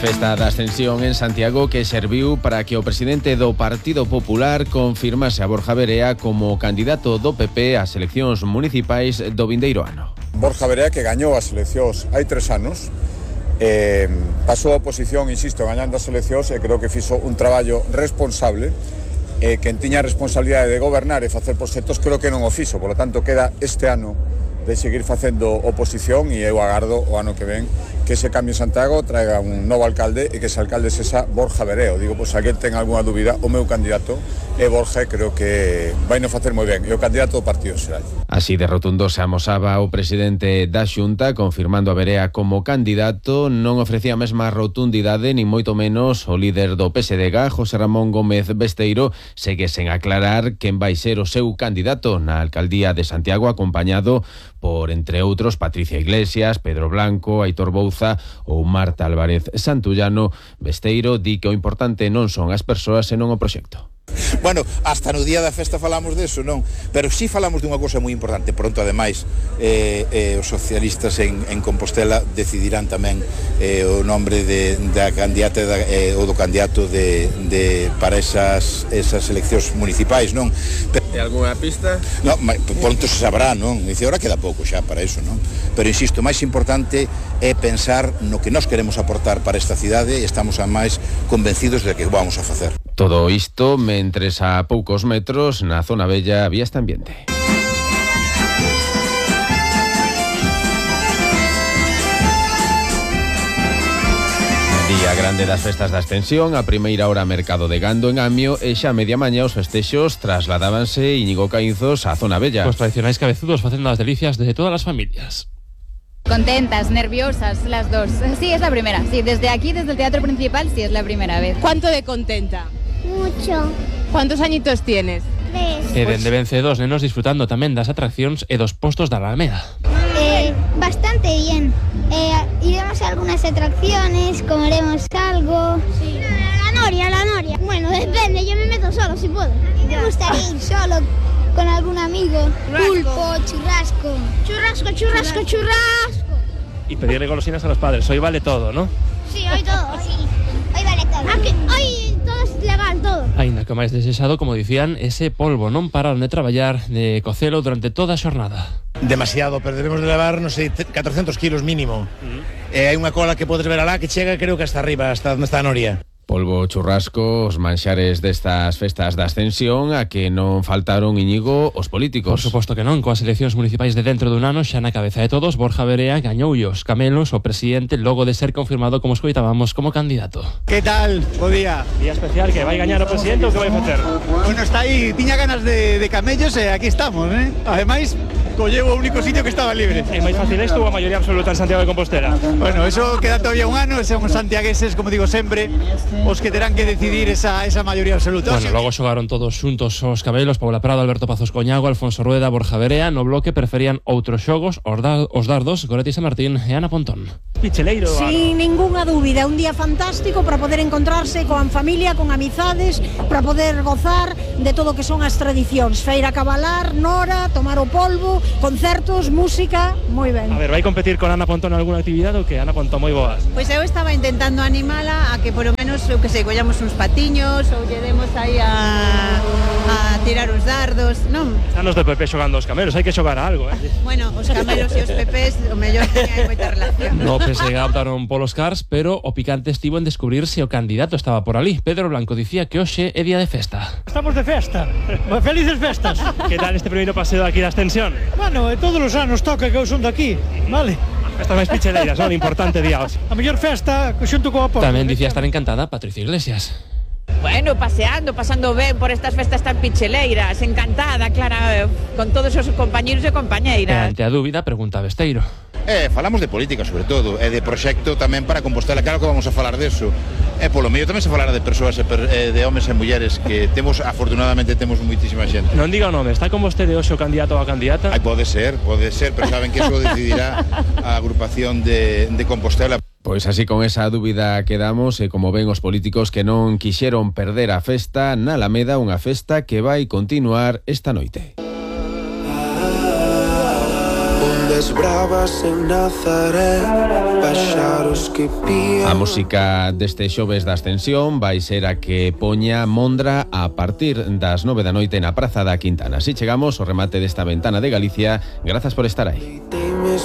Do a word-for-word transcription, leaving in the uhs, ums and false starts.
Festa da Ascensión en Santiago que serviu para que o presidente do Partido Popular confirmase a Borja Verea como candidato do P P ás eleccións municipais do vindeiro ano. Borja Verea, que gañou as eleccións hai tres anos, eh, pasou a oposición, insisto, gañando as eleccións, e creo que fixo un traballo responsable. Eh, quen tiña a responsabilidade de gobernar e facer proxectos creo que non o fixo, polo tanto queda este ano de seguir facendo oposición, e eu agardo o ano que ven que ese cambio en Santiago traiga un novo alcalde e que ese alcalde sexa Borja Verea. Digo, pois, a quen ten algunha dúbida, o meu candidato é Borja, creo que vai non facer moi ben, é o candidato do Partido Xeral. Así de rotundo se amosaba o presidente da Xunta, confirmando a Verea como candidato. Non ofrecía a mesma rotundidade, nin moito menos o líder do P S D G, José Ramón Gómez Besteiro, segue sen aclarar quen vai ser o seu candidato na alcaldía de Santiago, acompañado por, entre outros, Patricia Iglesias, Pedro Blanco, Aitor Bouza ou Marta Álvarez Santullano. Besteiro di que o importante non son as persoas senón o proxecto. Bueno, hasta no día da festa falamos deso, non? Pero sí falamos dunha cousa moi importante. Pronto, ademais, eh, eh, os socialistas en, en Compostela decidirán tamén eh, o nombre de, da candidata da, eh, ou do candidato de, de, para esas, esas eleccións municipais, non? Pero, e algunha pista? No, pronto se sabrá, non? Dice, ahora queda pouco xa para iso, non? Pero insisto, o máis importante é pensar no que nós queremos aportar para esta cidade e estamos a máis convencidos de que vamos a facer. Todo isto mentres a poucos metros na zona bella había este ambiente. Día grande das festas da Ascensión, a primeira hora mercado de gando en Amio e xa a media maña os festexos trasladábanse Íñigo Caínzos á zona bella. Os tradicionais cabezudos facendo as delicias de todas as familias. Contentas, nerviosas, las dos. Sí, es la primera. Sí, desde aquí, desde el teatro principal, sí es la primera vez. ¿Cuánto de contenta? Mucho. ¿Cuántos añitos tienes? Tres. E dende vence dos nenos disfrutando tamén das atraccións e dos postos da Alameda. Eh, bastante bien. Eh, iremos a algunas atracciones, comeremos algo. Sí. La noria, la noria. Bueno, depende, yo me meto solo si puedo. Me gustaría ir solo con algún amigo. Churrasco. Pulpo, churrasco. Churrasco, churrasco, churrasco. Y pedirle golosinas a los padres, hoy vale todo, ¿no? Sí, hoy todo, sí. Hoy vale todo. Ah, que hoy todo es legal, todo. Aínda que máis desexado, como dicían, ese polvo non pararon de traballar, de cocelo durante toda a xornada. Demasiado, pero debemos de levar, non sei, catrocentos kilos mínimo. Uh-huh. E hai unha cola que podes ver alá que chega, creo que hasta arriba, hasta onde está a Noria. Polvo, churrasco, os manxares destas festas da Ascensión, a que non faltaron, Íñigo, os políticos. Por suposto que non, coas eleccións municipais de dentro dun ano, xa na cabeza de todos, Borja Verea gañou os camelos o presidente logo de ser confirmado, como escoitábamos, como candidato. Que tal? Bo día. Día especial, que vai gañar o presidente ou que vai facer? Bueno, está aí, tiña ganas de, de camellos e aquí estamos, eh? Ademais, colleu o único sitio que estaba libre. É máis fácil isto ou a maioría absoluta en Santiago de Compostela? Bueno, eso queda todavía un ano, son os santiagueses, como digo sempre, os que terán que decidir esa, esa maioría absoluta. Bueno, logo xogaron todos xuntos os cabelos, Paula Prado, Alberto Pazos Coñago, Alfonso Rueda, Borja Verea. No bloque preferían outros xogos, os, da, os dardos, Goretti San Martín e Ana Pontón. Picheleiro. Sin ninguna dúbida, un día fantástico para poder encontrarse con familia, con amizades, para poder gozar de todo o que son as tradicións. Feira cabalar, nora, tomar o polvo, concertos, música, moi ben. A ver, vai competir con Ana Pontón en alguna actividade ou que? Ana Pontón, moi boas. Pois eu estaba intentando animala a que por lo menos, eu que sei, collamos uns patiños ou lle demos aí a, a tirar os dardos, non? Están os do P P xogando os camelos, hai que xogar a algo, eh? Bueno, os camelos e os P Pes, o mellor teña moita relación. No P S G optaron polos cars, pero o picante estivo en descubrir se o candidato estaba por ali. Pedro Blanco dicía que hoxe é día de festa. Estamos de festa, felices festas. Que tal este primeiro paseo aquí da Ascensión? Bueno, todos os anos toca que eu son daqui, vale? Festas máis picheleiras, son importante día hoxe. A mellor festa xunto coa porta. Tamén dicía estar encantada Patricia Iglesias. Bueno, paseando, pasando ben por estas festas tan picheleiras, encantada, Clara, con todos os compañeros e compañeiras. E ante a dúbida, pregunta Besteiro. Eh, falamos de política, sobre todo, e de proxecto tamén para Compostela, claro que vamos a falar deso. E polo medio tamén se falará de persoas, e per, eh, de homes e mulleres, que temos, afortunadamente, temos moitísima xente. Non diga o nome, está con vostede hoxe o candidato ou a candidata? Ai, pode ser, pode ser, pero saben que eso decidirá a agrupación de, de Compostela. Pois así con esa dúbida quedamos e como ven os políticos que non quixeron perder a festa na Alameda, unha festa que vai continuar esta noite. as bravas en Nazaré, paxaros que pían. A música deste xoves da Ascensión vai ser a que poña Mondra a partir das nove da noite na Praza da Quintana. Así chegamos ao remate desta ventana de Galicia. Grazas por estar aí.